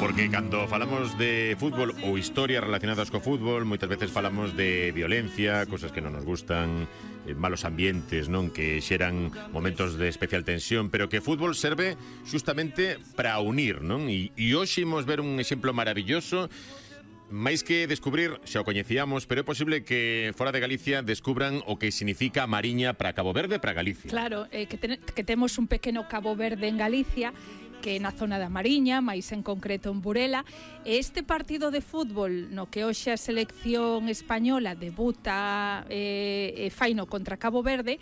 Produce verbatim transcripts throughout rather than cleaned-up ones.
Porque cando falamos de fútbol ou historias relacionadas co fútbol, moitas veces falamos de violencia, cosas que non nos gustan, malos ambientes, non, que xeran momentos de especial tensión, pero que o fútbol serve justamente para unir, non? E, e hoxe imos ver un exemplo maravilloso. máis que descubrir, xa o coñecíamos, pero é posible que fora de Galicia descubran o que significa a Mariña para Cabo Verde, para Galicia. Claro, eh, que, ten, que temos un pequeno Cabo Verde en Galicia, que é na zona da Mariña, máis en concreto en Burela, e este partido de fútbol no que hoxe a selección española debuta eh, e faino contra Cabo Verde,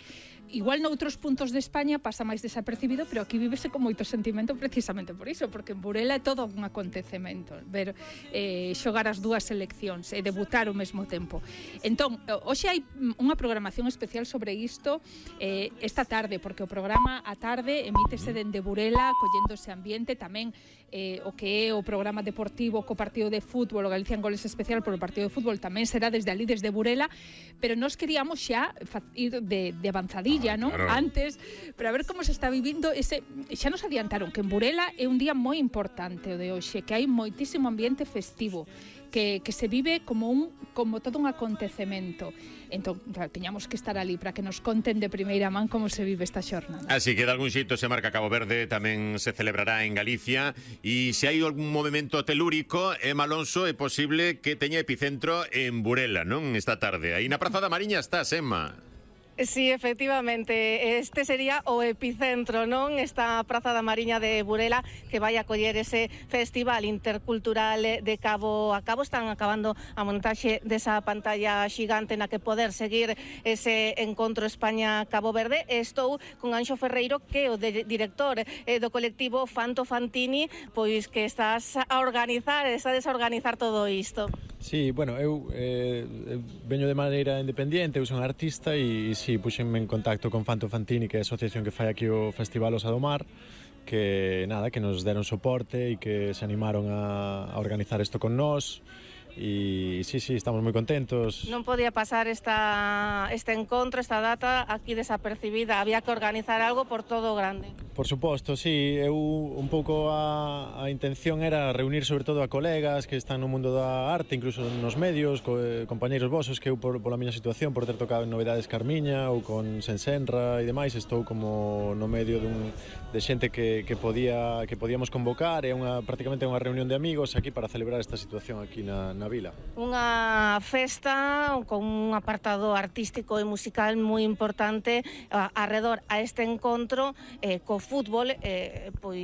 igual noutros puntos de España pasa máis desapercibido, pero aquí vívese con moito sentimento precisamente por iso, porque en Burela é todo un acontecemento ver eh, xogar as dúas seleccións e debutar ao mesmo tempo. Entón, hoxe hai unha programación especial sobre isto eh, esta tarde, porque o programa a tarde emítese dende Burela, collendo ese ambiente, tamén eh, o que é o programa deportivo co partido de fútbol, o Galicia en Goles especial por o partido de fútbol, tamén será desde ali, desde Burela, pero nós queríamos xa ir de, de avanzadilla, ¿no? Claro. Antes, para ver como se está vivindo ese, xa nos adiantaron que en Burela é un día moi importante o de hoxe, que hai moitísimo ambiente festivo, que, que se vive como un como todo un acontecemento. Entón, claro, teñamos que estar ali para que nos conten de primeira man como se vive esta xornada. Así que de algún xeito se marca Cabo Verde, tamén se celebrará en Galicia, e se hai algún movimento telúrico, Emma Alonso, é posible que teña epicentro en Burela, non? Esta tarde. Aí na Praza da Mariña estás, Emma. Sí, efectivamente, este sería o epicentro, non? Esta Praza da Mariña de Burela que vai acoller ese festival intercultural de cabo a cabo. Están acabando a montaxe desa pantalla xigante na que poder seguir ese encontro España-Cabo Verde. Estou con Anxo Ferreiro, que é o de, director eh, do colectivo Fanto Fantini, pois que estás a organizar, estás a organizar todo isto. Sí, bueno, eu eh, veño de maneira independente, eu son artista e, e si, puxenme en contacto con Fanto Fantini, que é a asociación que fai aquí o Festival Osa do Mar, que nada, que nos deron soporte e que se animaron a, a organizar isto con nós. E sí, sí, estamos moi contentos. Non podía pasar esta, este encontro, esta data aquí desapercibida. Había que organizar algo por todo grande. Por suposto, sí. Eu un pouco a, a intención era reunir sobre todo a colegas que están no mundo da arte, incluso nos medios, co, eh, compañeiros vosos, que eu por, pola miña situación, por ter tocado en Novedades Carmiña ou con Sensenra e demais, estou como no medio dun, de xente que, que, podía, que podíamos convocar. É unha, prácticamente unha reunión de amigos aquí para celebrar esta situación aquí na na vila. Unha festa con un apartado artístico e musical moi importante a, arredor a este encontro eh, co fútbol, eh, pois